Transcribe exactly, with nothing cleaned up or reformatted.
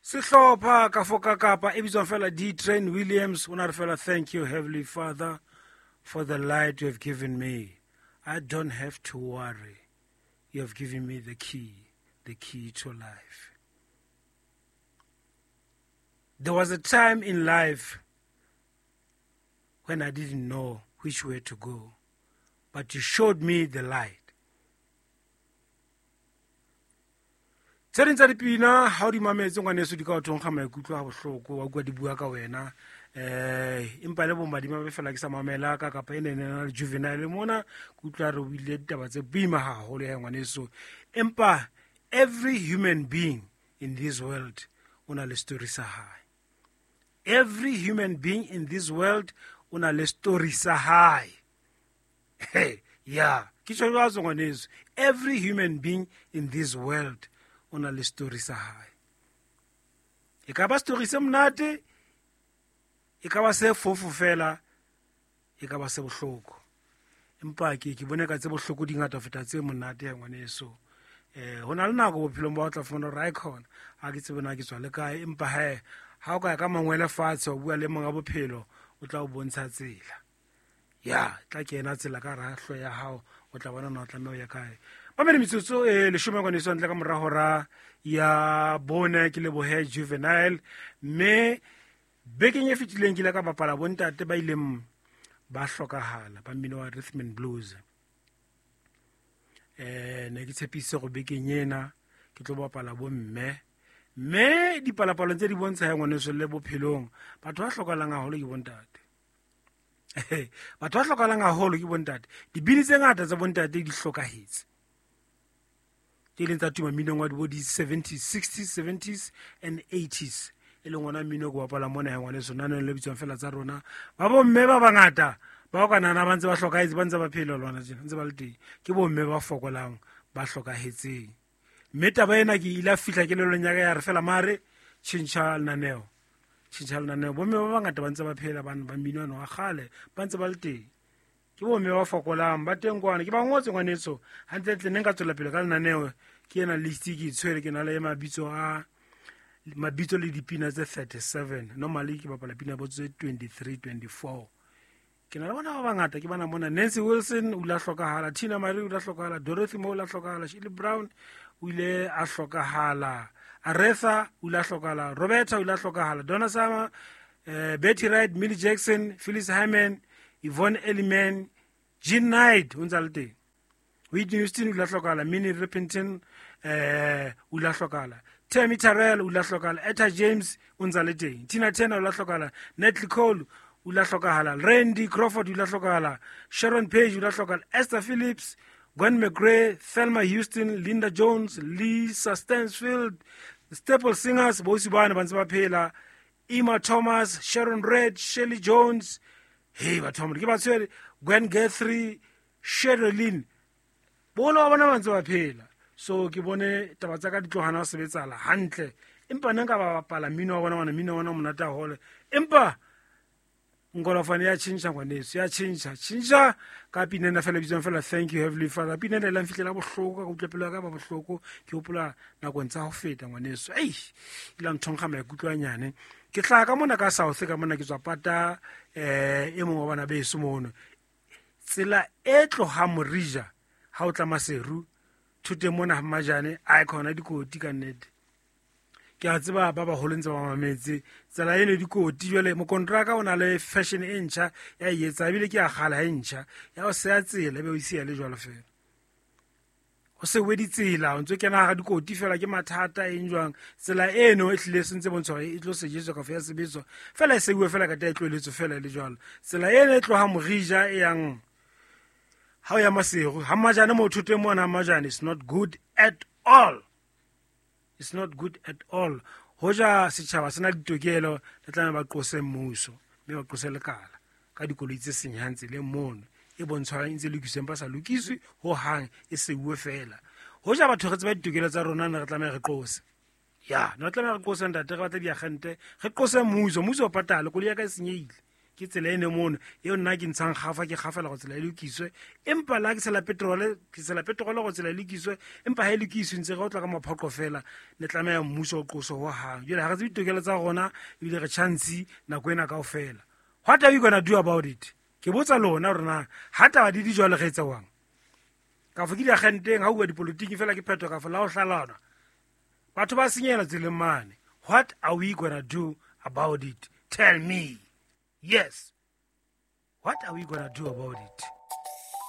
Sehlopha ka foka kapa e bitswang fela D Train Williams o na re fela thank you Heavenly Father for the light you have given me. I don't have to worry. You have given me the key, the key to life. There was a time in life when I didn't know which way to go, but you showed me the light. Tse ding tsa dipina ha o di mametse ngwaneso di ka o thonkga maikutlo a bohloko, wa utlwa di bua ka wena. Eh, empa le bo madimabe fela ke sa mamela ka kapa e ne na le Juvenile mona, ke utlwa re o buile ditaba tse boima haholo ya ngwaneso. Empa every human being in this world o na le story sa hae. Every human being in this world o na le story sa hae. Hey, yeah, ke tjho jwalo ngwaneso. Every human being in this world o na le story sa hae. E ka ba story se monate, e ka ba se fofo fela, e ka ba se bohloko. Empa ke ke bone ka tse bohloko di ngata ho feta tse monate ya ngwaneso. Eh, ho na le nako bophelong ba o tla fumana hore icon ha ke tsebe na ke tswa le kae, empa he ha o ka ya ka mangwele fatshe wa bua le monga bophelo, o tla o bontsha tsela. Ya, tla kena tsela ka hara hlooho ya hao, o tla bona na o tlameha ho ya kae. Mamedi metsotso e leshome ngwaneso ntle ka mora hora ya bone, ke lebohe Juvenile. Mme bekeng e fetileng ke ile ka bapala bontate ba ileng ba hlokahala ba mmino wa rhythm and blues. Eh, ne ke tshepise go bekeng ena ke tlo bapala bomme, mme dipalapalo tse di bontsha ya ngwaneso le bophelong batho ba hlokahalang haholo ke bontate. Batho ba hlokahalang haholo ke bontate. Dibini tse ngata tsa bontate di hlokahetse, tse leng tsa tuma mminong wa bo di-seventies, sixties, seventies and eighties, e leng ona mmino ke bapala mona ya ngwaneso naneng le bitswang fela tsa rona. Ba bomme ba bangata ba o ka nahana ba ntse ba hlokahetse, ba ntse ba phela lona tjena, ntse ba le teng, ke bomme ba fokolang ba hlokahetseng. Mme taba ena ke ile a fihla kelellong ya ka ya re fela mare tjhentjha lenaneo, tjhentjha lenaneo. Bomme ba bangata ba ntse ba phela, bana ba mmino ono wa kgale ba ntse ba le teng, ke bomme ba fokolang ba teng kwana. Ke ba ngotse ngwaneso hantlentle, ne nka tswela pele ka lenaneo. Ke ena list ke e tshwere, ke na le mabitso a mabitso le dipina tse thirty-seven. Normally ke bapala pina bo tse twenty-three, twenty-four. Ke na le bona ba bangata, ke bana mona. Nancy Wilson o ile a hlokahala, Tina Marie o ile a hlokahala, Dorothy Moore o ile a hlokahala, Shirley Brown o ile a hlokahala, Aretha o ile a hlokahala, Roberta o ile a hlokahala, Donna Summer, eh, Betty Wright, Millie Jackson, Phyllis Hyman, Yvonne Elliman, Jean Knight o ntse a le teng, Whitney Houston o ile a hlokahala, Minnie Riperton eh o ile a hlokahala, Tammy Terrell o ile a hlokahala, Etta James o ntse a le teng, Tina Turner o ile a hlokahala, Natalie Cole o ile a hlokahala, Randy Crawford o ile a hlokahala, Sharon Page o ile a hlokahala, Esther Phillips, Gwen McRae, Thelma Houston, Linda Jones, Lisa Stansfield, Staple Singers bosi bana ba ntse ba phela, Emma Thomas, Sharon Redd, Shirley Jones, hey batho ba ke ba tshwere, Gwen Guthrie, Sherilyn, boholo ba bona ba ntse ba phela. So ke bone taba tsa ka di tlohana ho sebetsala hantle, empa nna nka ba bapala mmino wa bona, wana mmino wa bona o monate haholo, empa nkolofane ya tjhentjha ngwaneso, ya tjhentjha tjhentjha ka pina ena fela bitswang fela thank you Heavenly Father. Pina ena e la nfihlela bohloko, ka utlwa pelo ya ka ba bohloko, ke hopola nakong tsa ho feta ngwaneso. Ei, e la nthonkga maikutlo a nyane. Ke hlaha ka mona ka South, ka mona ke tswa pata eh e mong wa bana beso mono. Tsela e tlohang Morija ha o tla Maseru thoteng mona ha Mmajane, a e khona dikoti ka nnete. Ke a tseba ba baholo ntse ba mametse tsela eno dikoti. Jwale mokontraka o na le fashion e ntjha ya e etsa, ebile ke ya kgale ha e ntjha ya ho seya tsela, ebe o e siya le jwalo fela. Ho se we ditsela, o ntso kena hara dikoti fela, ke mathata eng jwang. Tsela eno e hlile se ntse bontsha hore e tlo sejetswa kafa ya sebetswa fela, e seuwe fela ka tla e tlohelletswe fela le jwalo. Tsela eno e tloha Morija e yang ha o ya Maseru ha Mmajane, mo thoteng mona ha Mmajane, it's not good at all. It's not good at all. Hoja setjhaba sena ditokelo, le tlameha ba qose mmuso, mme ba qose lekala ka dikoloi tse senyang tseleng mono, e bontshwang e ntse lokiswa empa sa lokiswe hohang, e seuwe fela. Hoja batho re tseba ditokelo tsa rona, ne re tlameha re qose. Ya, ne re tlameha re qose ntate, re batle diagente, re qose mmuso, mmuso o patale, koloi ya ka e senyehile. Ke tsela ene mono eo nna ke ntshang gafa ke gafela go tsela e lokiswe, empa la ke tshela petrole, ke tshela petrole go tsela e lokiswe, empa ha e lokiswe ntse re o tla ka maphoqo fela. Ne tlameha mmuso o qoso ho hang. Jwale ha re tsebe ditokelo tsa rona, ebile re chance nako ena kaofela. What are we gonna do about it? Ke botsa lona hore na ha taba di di jwalo re etsa jwang? Kafo ke diagenteng ha bua dipolotiki fela ke phetho kafo la ho hlalana. Batho ba senyehela tseleng mane. What are we gonna do about it? Tell me. Yes. What are we gonna do about it?